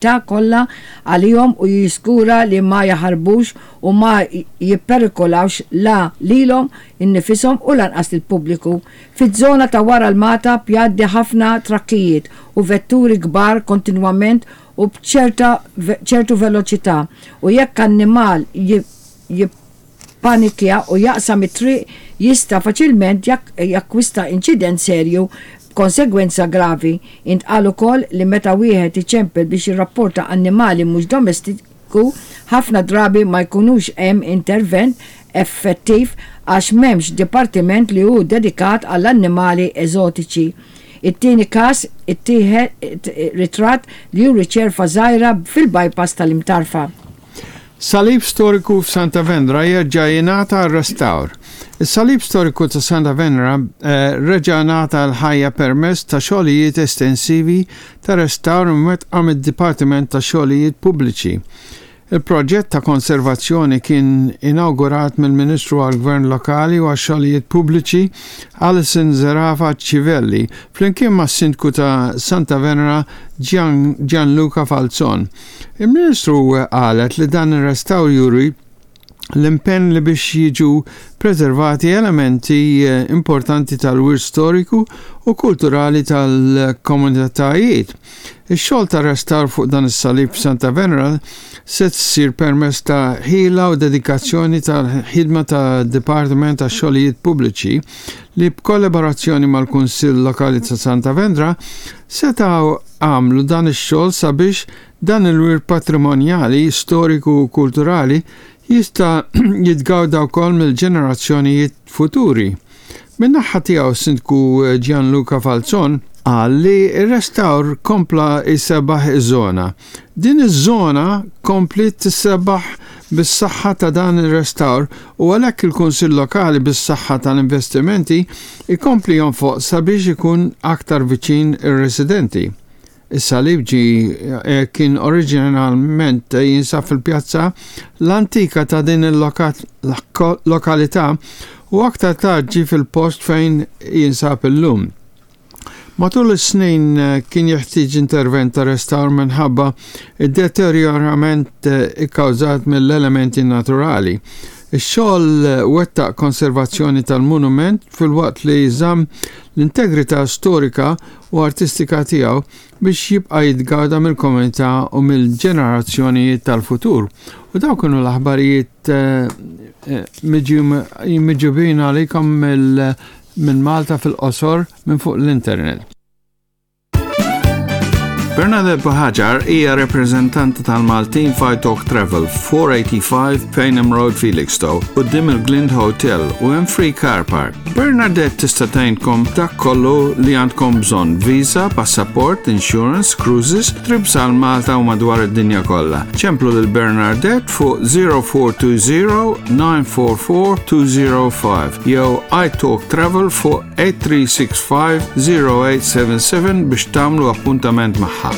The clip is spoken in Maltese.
Ta' kollha għalihom u jiżgura li ma jaħarbux u ma jipperikolawx la lilhom innifishom u lanqas lill-pubbliku. Fiż-żona ta' wara l-Magħtab jgħaddi ħafna trakkijiet u vetturi kbar kontinwament u b'ċerta ċertu veloċità u jekk annimal jippanikja u jaqsam it-triq jista' faċilment jakkwista inċident serju b'konsegwenza gravi. Intqal ukoll li meta wieħed iċempel biex jirrapporta annimali mhux domestiku ħafna drabi ma jkunux hemm intervent effettiv għax m'hemmx dipartiment li hu dedikat għall-annimali eżotiċi. It-tieni każ ittieħed ritratt li juri ċerfa żgħira fil-bypass tal-Imtarfa. Salib storiku f'Santa Venera jerġa' jingħata r-restawr. Is-salib storiku ta' Santa Venera reġa' ngħata l-ħajja permezz ta' xogħlijiet estensivi ta' restawr imwettqa mid-Dipartiment tax-Xogħlijiet Pubbliċi. Il-proġett ta' konservazzjoni kien inawgurat mill-Ministru għall-Gvern Lokali u għax-Xogħlijiet Pubbliċi Alison Zerafa Civelli flimkien mas-Sindku ta' Santa Venera Gianluca Falzon. Il-Ministru qalet li dan ir-restawr juri l-impenn li biex jiġu preservati elementi importanti tal-wirt storiku u kulturali tal-komunitajiet. Ix-xogħol ta' restawr fuq dan is-salib f'Santa Venera se ssir permezz ta' ħila u dedikazzjoni tal-ħidma ta' Dipartiment tax-Xogħlijiet Pubbliċi li b'kollaborazzjoni mal-Kunsill Lokali ta' Santa Venera setgħu għamlu dan ix-xogħol sabiex dan il-wirt patrimonjali, storiku u kulturali jista' jitgawda wkoll mill-ġenerazzjonijiet futuri. Min-naħa tiegħu s-Sindku Gianluca Falzon qal li r-restawr kompla jsebbaħ iż-żona. Din iż-żona kompliet tissebbaħ bis-saħħa ta' dan ir-restawr u għalhekk il-Kunsill Lokali bis-saħħa tal-investimenti jkompli jonfoq sabiex ikun aktar viċin ir-residenti. Is-salib ġie kien oriġinalment jinsab fil-pjazza l-antika ta' din il-lokalità u aktar tard ġie fil-post fejn jinsab illum. Matul is-snin kien jeħtieġ intervent ta' restawr minħabba d-deterjorament ikkawżat mill-elementi naturali. Ix-xogħol wettaq konservazzjoni tal-monument filwaqt li żamm l-integrità storika u artistika tiegħu biex jibqa' jitgawda mill-komunità u mill-ġenerazzjonijiet tal-futur. U dawk kienu l-aħbarijiet miġjubin għalikom minn Malta fil-qosor minn fuq l-internet. Bernadette Buhagiar hija rappreżentanta tal-Maltin f'Italk Travel, 485 Payneham Road, Felixstowe, quddiem il-Glind Hotel u hemm free car park. Bernadette tista' tgħinkom dak kollu li għandkom bżonn, visa, passaport, insurance, cruises, trips għal Malta u madwar id-dinja kollha. Ċemplu lil Bernadette fuq 0420 944 205 jew iTalk Travel fuq 8365 0877 biex tagħmlu appuntament magħha.